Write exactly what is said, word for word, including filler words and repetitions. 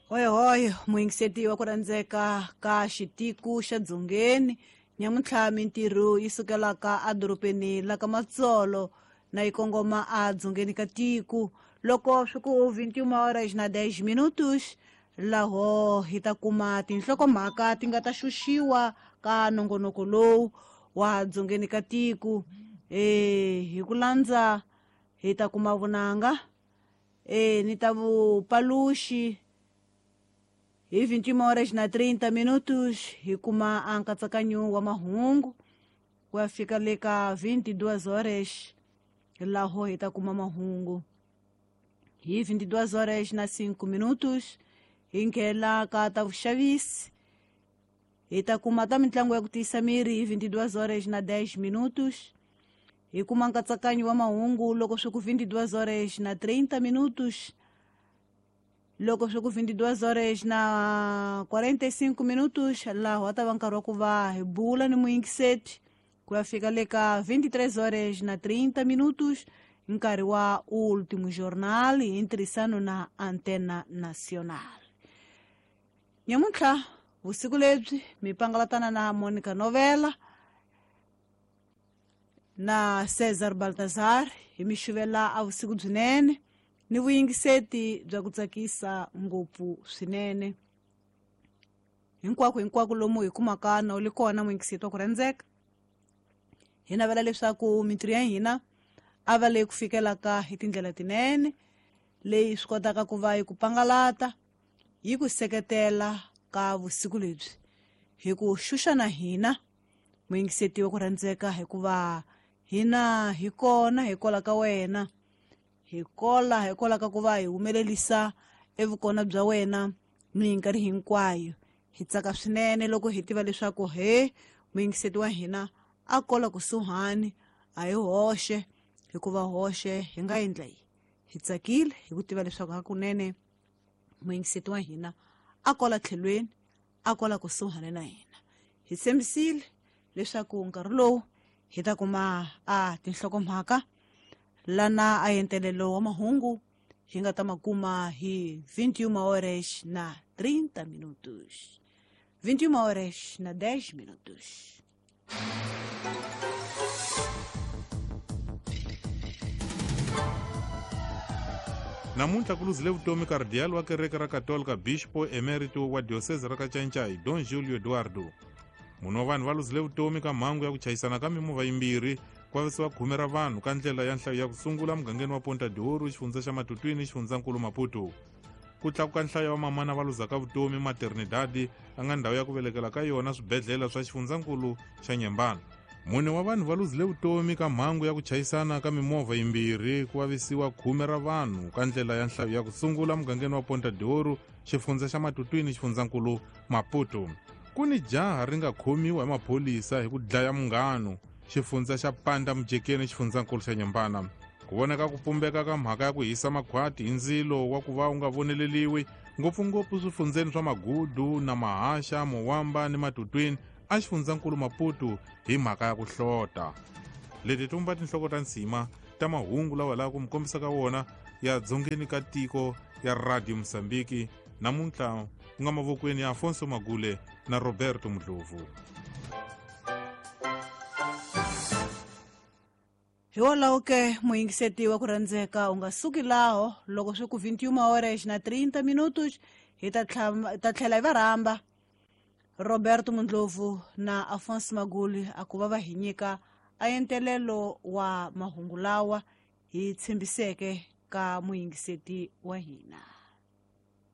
Hoyohoyo muyingiseti wa ku rhandzeka ka xitiku xa Dzongeni nyamuntlha mintirho yi sukelaka edorobeni la ka Matsolo na yi kongoma a dzongeni ka tiko loko swi ku vinte e uma horas na dez minutos laho hi ta kuma tinhlokomhaka ti nga ta xuxiwa ka nongonoko lowu wa dzongeni ka tiko. E hi ku landza hi ta kuma vunanga e ni ta vupaluxi hi vinte e uma horas na trinta minutos hi kuma a nkatsakanyo wa mahungu ku ya fika le ka vinte e duas horas laho hi ta kuma mahungu. Hi vinte e duas horas na cinco minutos hi nghena ka ta vuxavisi hi ta kuma ta mitlangu ya ku tiyisa miri hi vinte e duas horas na dez minutos hi kuma nkatsakanyo wa mahungu loko swi ku vinte e duas horas na trinta minutos loko swi ku vinte e duas horas na quarenta e cinco minutos laho a ta va nkarhi wa ku va hi bula ni muyingiseti ku ya fika le ka vinte e três horas na trinta minutos nkarhi wa Último Jornal hi ntirhisano na Antena Nacional. Nyamuntlha vusiku lebyi mi pangalatana na Monica Novela na Cesar Baltazar hi mi xuvela a vusiku byinene ni vuyingiseti bya ku tsakisa ngopfu swinene. Hinkwako hinkwako lomu hi kumaka na u le kona muyingiseti wa ku rhandzeka, hi navela leswaku mintirho ya hina a va leyi ku fikelaka hi tindlela tinene leyi swi kotaka ku va yi ku pangalata yi ku seketela ka vusiku lebyi hi ku xuxa na hina muyingiseti wa ku rhandzeka, hikuva hina hi kona hi kola ka wena, hi kola hi kola ka ku va hi humelerisa evukona bya wena minkarhi hinkwayo. Hi tsaka swinene loko hi tiva leswaku he muyingiseti wa hina a kola kusuhani a hi hoxe, hikuva hoxe hi nga endla yi. Hi tsakile hi ku tiva leswaku hakunene muyingiseti wa hina a kola tlhelweni, a kola kusuhani na hina. Hi tshembisile leswaku nkarhi lowu hi ta kuma a tinhlokomhaka lana a entelelo wa mahungu hi nga ta ma kuma hi vinte e uma horas na trinta minutos, vinte e uma horas na dez minutos. Namuntlha ku luzile vutomi kardiyali wa kereke ra Katolika Bispo Emerito wa diocese ra Kacancai Don Julio Eduardo. Munhu wa vanhu va luzile vutomi ka mhangu ya ku chayisana ka mimovha yimbirhi ku vavisiwa khume ra vanhu ka ndlela ya nhlayo ya ku sungula mugangeni wa Ponta de Ouro, xifundza xa Matutwini, xifundzankulu Maputo. Ku tlakuka nhlayo wa mamana va luzaka vutomi maternidade a nga ndhawu ya ku velekela ka yona swibedhlele swa xifundzankulu xa Nyembana. Mune wa vanhu va luzile vutomi ka mhangu ya ku chayisana ka mimovha yimbirhi ku vavisiwa khume ra vanhu ka ndlela ya nhlayo ya ku sungula mugangeni wa Ponta de Ouro, xifundza xa Matutwini, xifundzankulu Maputo. Ku ni jaha ri nga khomiwa hi maphorisa hi ku dlaya munghano, xifundza xa Panda Mujekeni, xifundzankulu xa Nyembana. Ku vonaka ku pumbeka ka mhaka ya ku hisa makhwati hi ndzilo wa ku va wu nga voneleliwi ngopfungopfu swifundzeni swa Magudu na Mahaxa, Mowamba ni Matutwini a xifundzankulu Maputo hi mhaka ya ku hlota. Leti tumba tinhloko ta nsima ta mahungu lawa laha ku mi kombisa ka wona ya dzongeni ka tiko ya Radio Mozambique namuntlha ku nga mavokweni ya Afonso Magule na Roberto Mudlovu. Hikwalaho ke muyingiseti wa ku rhandzeka u nga suki laho loko swi ku vinte e uma horas na trinta minutos hi ta ta tlhela hi va rhamba Roberto Mundlovu na Afonso Maguli a ku va va hi nyika a entelelo wa mahungu lawa hi tshembiseke ka muyingiseti wa hina.